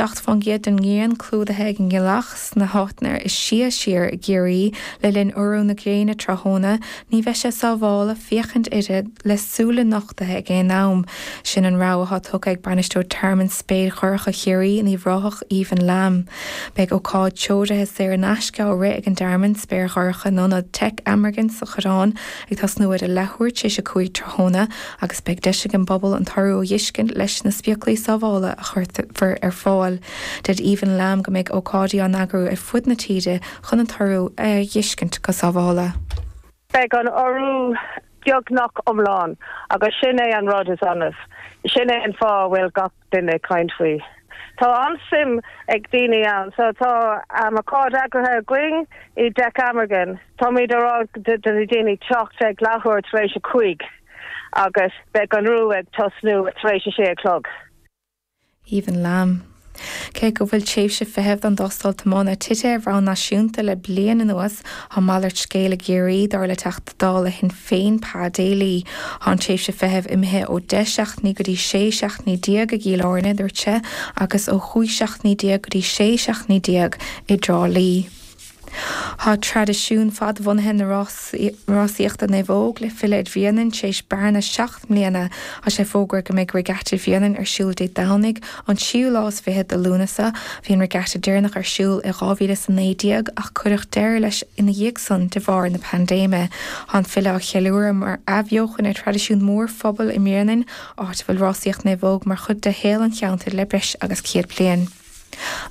7% den ghrian clúdaithe ag an ngealach sna háiteanna is sia siar i gCiarraí le linn urú na gréine tráthnóna, ní bheidh sé sábhála féachaint uirthi le súile nochtaithe ag aon am. Sin an rabhadh atá tugtha ag Bainisteoir Tearmann Spéir Dhorcha Chiarraí in Uíbh Ráthach, Aoibheann Lamb. Beidh ócáid treoraithe saor in aisce á rith ag an dTearmann Spéir Dhorcha in Ionad Teic Amergin sa Choireán ag tosnú ar a leathuair tar éis 5 tráthnóna agus beidh deis ag an bpobal an t-urú a dh'fheiscint leis na spiaclaí sábhála a chuirfear ar fáil. Deir Aoibheann Lamb go mbeidh ócáidí á n-eagrú ar fud na tíre chun an t-urú a dh'fheiscint go sábhála. Beidh an urú beagnach iomlán agus sin é an rud is annamh. Sin é an fáth a bhfuil gach duine ag caint faoi. Tá an-suim ag daoine ann so tá ócáid eagraithe againn i dTeic Amergin. Táimid ag rá do na daoine teacht ag leathuair tar éis a cúig agus beidh an urú ag tosnú tar éis a sé a chlog. Aoibheann Lamb. Cé go bhfuil tréimhse feithimh don dtástáil tiomána tite ar bhonn náisiúnta le bliain anuas, tá malairt scéil i gCiarraí, dar le Teachta Dála Shinn Féin, Pa Daly. Tá an tréimhse feithimh imithe ó 10 seachtainí go dtí 16 seachtainí i gCill Airne, a dúirt sé, agus ó 15 seachtainí go dtí 16 seachtainí i dTrá Lí. Tá traidisiún fadbhunaithe na rásaíochta naomhóg le filleadh ar Bhréanainn tar éis bearna 7 mbliana. Tá sé fógartha go mbeidh Regatta Bhréanainn ar siúl Dé Domhnaigh, an tríú lá is fiche de Lúnasa. Bhí an regatta deireanach ar siúl i 2019 ach cuireadh deireadh leis ina dhiaidh san de bharr na paindéime. Tá an filleadh á cheiliúradh mar athbheochan ar thraidisiún mór phobail i mBréanainn, áit a bhfuil rásaíocht naomhóg mar chuid de shaol an cheantair le breis agus 100 bliain.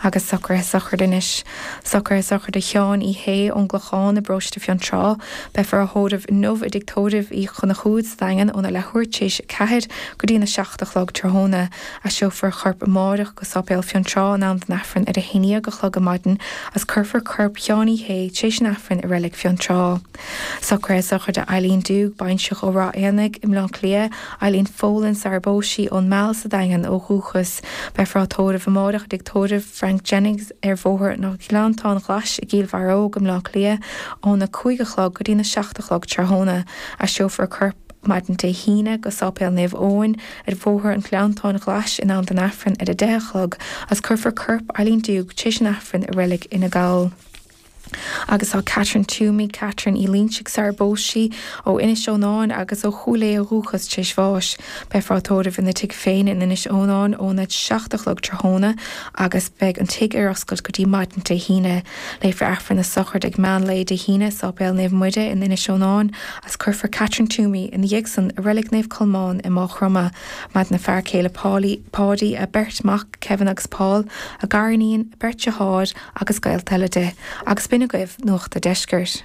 Agus socruithe sochraide anois. Socruithe sochraide Sheáin Uí Shé ón gClochán i bparóiste Fionntrá. Beifear á thórramh inniu i dtigh tórraimh Uí Chonchúir sa Daingean óna leathuair tar éis 4 go dtína 7 a chlog tráthnóna. Aistreofar a chorp amáireach go Sáipéal Fionntrá in am don Aifreann ar a 11 a chlog ar maidin agus cuirfear corp Sheáin Uí Shé tar éis an Aifrinn i Reilig Fionntrá. Socruithe sochraide Eileen Doogue, baintreach ó Ráth Éanaigh i mBleá Cliath, Eileen Folan sar a bpós sí ón Meal sa Daingean ó dhúchas. Beifear á tórramh amáireach i dtigh tórraimh Frank Jennings ar Bhóthar an Ghleanntáin Ghlais i gCill Bharróg i mBleá Cliath óna 5 a chlog go dtína 7 a chlog tráthnóna. Aistreofar a corp maidin Dé hAoine go Sáipéal Naomh Eoin ar Bhóthar an Ghleanntáin Ghlais in am don Aifreann ar a 10 a chlog agus cuirfear corp Eileen Doogue tar éis an Aifrinn i Reilig Fhine Gall. Agus tá Catherine Toomey, Catherine Uí Loinsigh sar a bpós sí, ó Inis Eonáin agus ó Chúil Aodha ó dhúchas tar éis bháis. Beifear á tórramh ina tigh féin in Inis Eonáin óna 7 a chlog tráthnóna agus beidh an tigh ar oscailt go dtí maidin Dé hAoine. Léifear Aifreann na sochraide ag meán lae Dé hAoine i Sáipéal Naomh Muire in Inis Eonáin agus cuirfear Catherine Toomey ina dhiaidh san i Reilig Naomh Colmán i Máigh Chromtha. Maireann a fear céile Páidí, a beirt mac, Kevin agus Paul, a gariníon, a beirt deartháir, agus gaolta eile di, agus b'in agaibh Nuacht a' Deiscirt.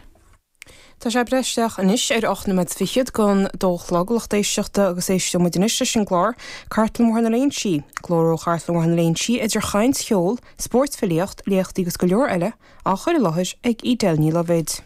Tá sé ag breith isteach anois ar 8 nóiméad fichead don dó a chlog, lucht éisteachta, agus éisteoidh muid anois leis an gclár Cartlann Bhóthar na Léinsí, glór ó Chartlann Bhóthar na Léinsí, idir chaint, cheol, spórt, filíocht, léachtaí agus go leor eile, á chur i láthair ag Edel Ní Loibhéid.